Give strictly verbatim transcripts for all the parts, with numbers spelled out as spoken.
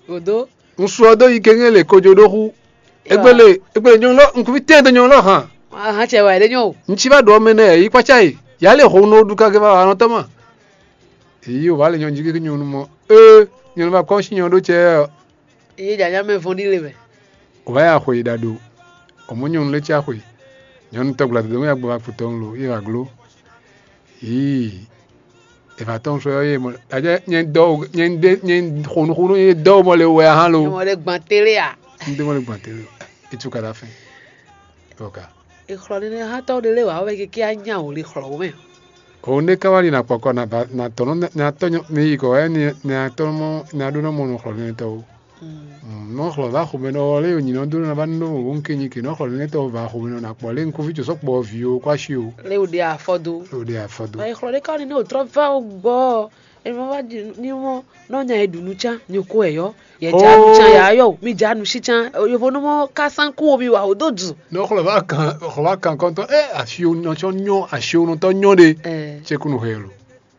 Odo. Un su ɔ́ dó yi kɛ́ŋɛ́ le kojo ɖó xú. Égbé le, égbé le nyɔnu lɔ, un kún tɛ́ dó nyɔnu lɔ hàn. Ahan cɛ wɛ ɖe nyɔ o. Un cí va ɖu ɔmɛ nɛ yi kpácá yi. Yǎ lɛ ho nɔ ɖu kagɛ va wa nɔ tɔ́ ma. Èyí o va le nyɔnu jí kéké nyɔnu mɔ. Ee, nyɔnu va kɔ́ sí nyɔnu ɖó cɛ ɔ́. Eye janya mɛ vɔn ɖi le mɛ. O va ya xwe yi ɖa ɖo. O mɔ nyɔnu lé cí axwe. Nyɔnu tɔgbla dodo mɛ ya gbɔ va kpotɔ un lo, yi va glo. Yii. È va tɔ́n sɔ́ yɔ́ yé mɔ. Ajá nyɛ dɔ́ o, nyɛ ɖe nyɛ xo nuxunu nyɛ dɔ́ o mɔ le wɛ ahan lo. Mɔ ɖe gbɔn télé a? Un ɖe mɔ le gbɔn télé. Etu ka ɖa fɛn. Bɔ ka. Exlɔ nínú hã tɔ́ ɖe lé wǎ wɛ kéké anyá wò le xlɔ wò mɛ. Òun ɖé ká wá ɖi nà kpɔkɔ nà ba nà tɔ́ nɔ nà tɔ́ nyɔ mi yi kɔ wɛ ni nà tɔ́ mɔ nà ɖó nɔ mɔ nɔ xlɔ nínú tɔ́ o. Nɔ xlɔ va xomɛ nɔ wɔ lé nyinɔ dó nɔ va nɔ wò ŋke nyi ke nɔ xlɔ nínú tɔ́ va xomɛ nɔ nà kpɔ lé ŋkuvi tso sɔkpɔ vi o kó asi o. Lé wò ɖe afɔ dó. Lé wò ɖe afɔ dó. Ba exlɔ ɖé ká nínú òtrɔ va gbɔ. Ema wá ɖi ní mɔ nɔ nya e ɖu nú can nyoko ɛ yɔ. Yɛ ja nú can ya yɔ mi ja nú sí can yovo nú mɔ ká sán kú omi wa o dó dzu. Nɔ xlɔ va kan xlɔ va kan kɔntɔn ɛ asiwo nɔ tsɔ nyɔ asiwo nɔ tɔ nyɔ ɖe. Ɛ. Tse kunu hɛ lo.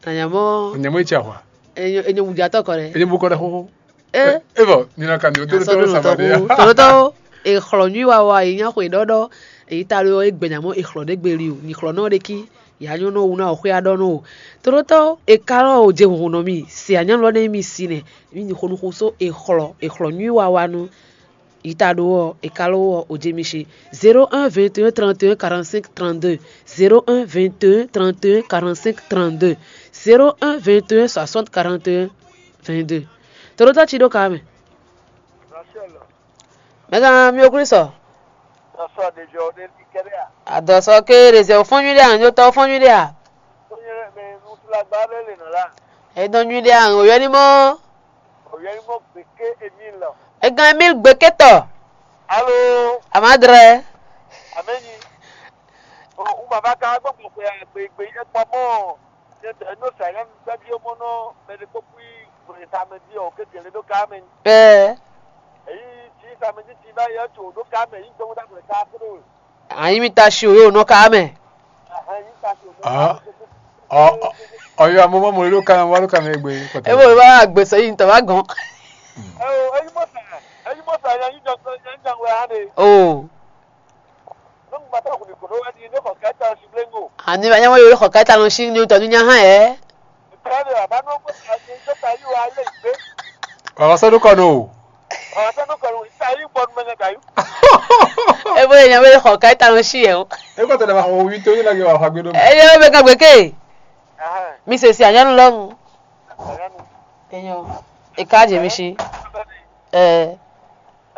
Anyamɔ. Nyamɔ etsi ahwa. Enyo enyo mu ja tɔ kɔ ɖe. Enyo bu kɔ ɖe xoxo. Ɛ. Evɔ nina kan ni o tó Asɔ tó ɖo nɔ saba tɔ de. Ku tɔlɔtɔ. Exlɔ nyui wa wa yi nya xwe ɖɔɖɔ. Eyi ta ɖo egbɛ nyamɔ exlɔ ɖe gbe li o. Ni xlɔ nɔ ɖe ki. Ya nyɔ́ nɔ wú ná wɔ xwé aɖɔ nɔ o. Tlótɔ́ è ka lɔ́ o je hunhun nɔ mì, se anyɔ́nu lɔ nɛ́ nyí mì si nɛ́, mì nyi xo nú xo só è xlɔ è xlɔ nyui wa wa nú yi ta ɖó ɔ́, è ka lɔ́ ɔ o je mi shi. Zéro un vingt et un trente et un quarante-cinq trente-deux, zéro un vingt et un trente et un quarante-cinq trente-deux, zéro un vingt et un soixante quarante et un vingt-deux. Tlótɔ́ ci ɖó ka mɛ. Mɛgán mi ò Klísu. Sɔsɔ ɖe jɔ ɖe li kɛɖɛ a? Adɔsɔ ke ɖe zɛ fɔ́n nyuiɖe a, nyotɔ fɔ́n nyuiɖe a? Fɔ́n nyuiɖe mɛ nutúlagba ɖe le nɔ la. Edɔn nyuiɖe a, òyɔ ní mɔ. Òyɔ ní mɔ gbèké Emile. Egán Emile gbèké tɔ. Alo. Amadrɛ. Amɛnyi. O, un ma va ka gbɔ gbɔ xwe a gbe gbe e kpɔ mɔ. Nyɛ tɔ e nɔ sa nyɔnu gbɛ́ví ɔ́ mɔ nɔ mɛ ɖé kpó kú yi hwlɛ̌ntamɛ jí ɔ́, kékeré ɖó ká mɛ. Ɛɛ. Èyí cí samɛdíti bá yɛ tso ɖó ká mɛ yí gbɔn ɖa hwlɛ ká kúrò. Anyi mi ta si o yóò nɔ ká mɛ. Ahɛn yí ta so. Ah. Ɔ ɔ ɔyɔ amɔmɔ mɔ ló ká wá ló ká mɛ gbé kɔtɛ. Ebo ló bá gbèsè yìí ntọ́ bá gàn. Ɛ o, èyí mɔ sàn, èyí mɔ sàn yẹn yí jọ yẹn jọ wɛ hàn de. O. Nɔnɔ bàtà kò ní kòtò wá di ní kò kẹta sí bléngo. Àní bá yẹn wọ́n yóò kọ̀ káyítá lọ sí ní tọ́jú nyá hàn ẹ́. Ìtọ́jú àbánú kò tà sí tó tà yí wá lé ìgbé. Ọ̀rọ̀ sọ́dún kọ́ nù o. Ọ̀rọ̀ sọ́dún kọ́ nù ìtà yí gbọ́dún mẹ́ngàn tà yí. Ebo yẹn wé kọ̀ káyítá lọ sí ẹ̀ o. E kò tẹ̀lé ma xɔ wí tó yín lagi wà fagbe dó. Ẹ yẹ bẹ ká gbèké. Ahàn. Mi sè sí àyánu lọ́rùn. Àyánu. Èèyàn ìka jèmi sí. Ẹ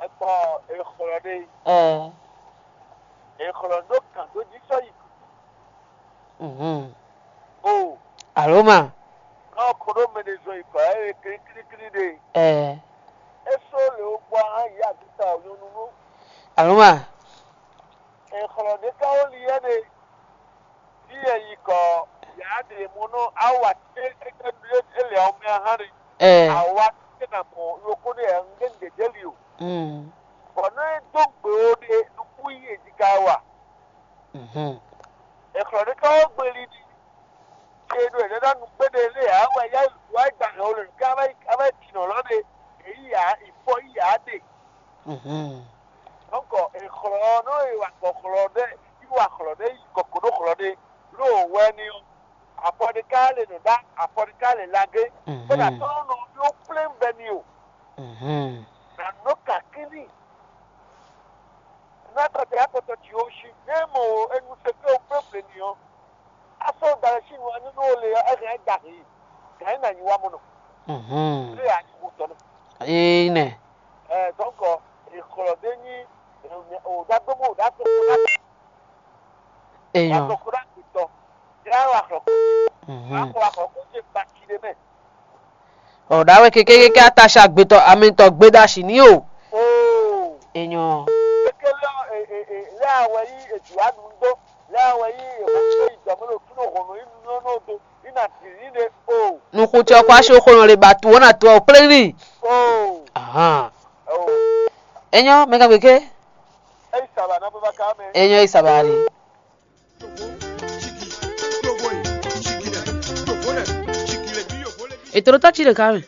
Ẹ kpɔ èxlɔ ɖé. Ẹ. Èxlɔ ɖó kàn tó jí sɔ́ yi. Mhm. O. Alo ma. Kɔ ko ɖo mɛ ɖe zɔn yi kɔ ɛ kliklikli ɖe. Ɛ. E só le wo gbɔ hã yi aduta o nyɔnu ɖo. Alo ma. Exlɔ ɖe ka wo li yɛ ɖe. Fi yɛ yi kɔ ya ɖe mo nɔ awa te e lɛ o mɛ hã ɖe. Ɛ. Awa te na mɔ yoko ɖe ɛ ŋgé ŋgé ɖe li o. Mm. Bɔ nɔ e dó gbe wo ɖe nukú yi e ji ka wa. Mhm. Exlɔ ɖe ka wo gbe li ɖi. Ṣe ɖo ɛnɛ ɖɔ nukpé ɖe lé ǎ wɛ yá yi wá yi gba hɛn o le nǔ ká ava yi ava yi tinɔ lɔ ɖe èyí ǎ ìfɔ yí ǎ ɖe. Mhm. Donc exlɔ nɔ e wa gbɔ xlɔ ɖe yi wa xlɔ ɖe yi kɔkɔ ɖo xlɔ ɖe ɖo wɛ ni o. Afɔ ɖe ká le nɔ ɖá afɔ ɖe ká le lagé. Mhm. Kpɔɖa tɔn nɔ ɖo plɛn bɛ ni o. Mhm. Na nɔ kakíní. Nátɔtɛ akɔtɔ ci o si ne mɔ o enu se ke o kple ble ni ɔ. Asɔ da le si nu anu no le ɔ ɛhɛn da he. Ga yi na nyi wa mɔ nɔ. Mhm. Le ya nyi wo tɔ nɔ. Ee nɛ. Ɛ donc e xlɔ de nyi o da gbɛ mo o da gbɛ mo da. Eyɔn. Wa tɔ ko da gbɛ tɔ. Ya wa xlɔ. Mhm. Wa xlɔ ko se ba ki de mɛ. Ɔ ɖa wɛ keke keke atashi agbetɔ amɛtɔ gbeɖashi ní o. Oo. Enyɔ. Keke lɛ ɔ e e e lɛ awɛ yi edu anu do lɛ awɛ yi eho yi dɔmɛ lo funu hɔnɔ yi nu nɔ do yi na diri de o. Nukutsɔ kɔ asi oxo nɔ le ba tu wɔna tu ɔ plɛli. Oo. Ahan. Oo. Enyɔ mɛ ka gbeke. Eyi saba na baba ka mɛ. Enyɔ yi saba ali. Etoro tɔ ci ɖeka mɛ.